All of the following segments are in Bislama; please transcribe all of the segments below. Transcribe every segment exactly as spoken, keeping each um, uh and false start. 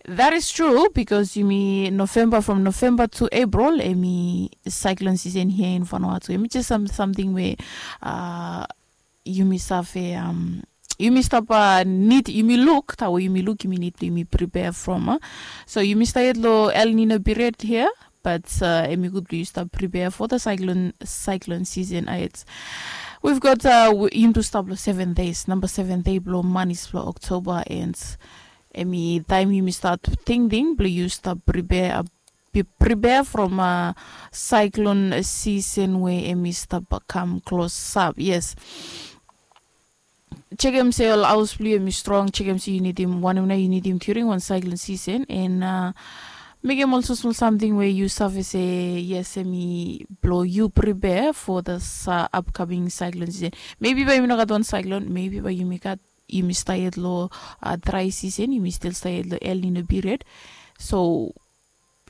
That is true, because yumi November, from November to April, emi cyclone season here in Vanuatu. Emi just some something where uh, yumi save um, yumi stop uh, need yumi look tawa yumi look yumi need yumi prepare from uh. So yumi start lo El Nino period here, but uh, emi good you stop prepare for the cyclone cyclone season. Uh, it's we've got uh, yumi to stop lo seven days. Number seven day blo manis blo October and emi time yumi start thinking blo you stop prepare uh, be prepare from uh, cyclone season where emi stop uh, come close up. Yes. Chekem se ol haus blo yu em i strong, chekem se yu nidim wanem na yu nidim during wan cyclone season and uh, mekem also small something where you save se yes em i blo you prepare for the uh, upcoming cyclone season. Maybe bai yumi no gat wan cyclone, maybe bai yumi gat yumi stayed lo uh, dry season, yumi still stayed lo El Nino period. So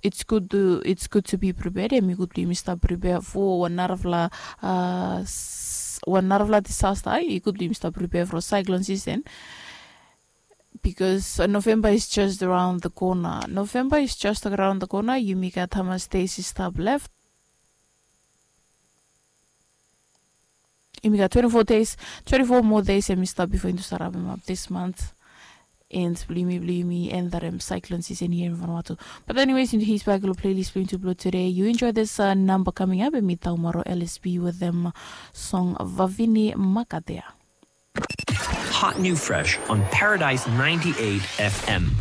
it's good to it's good to be prepared. Em i good blo yumi stap prepare for wan narafala uh, wan narafala disaster. I good blo yumi stap prepare for cyclone season. Because uh, November is just around the corner. November is just around the corner. Yumi gat hamas days i stap left. Yumi gat twenty-four days, twenty-four more days em i stap before into start wrap him up this month. And blo yumi blo yumi end that um, cyclone season here in Vanuatu. But anyways, into his back lo playlist blo into blo today. You enjoy this uh, number coming up and mi taumaro L S B with them song Vavini Makatea. Hot new fresh on Paradise ninety-eight F M.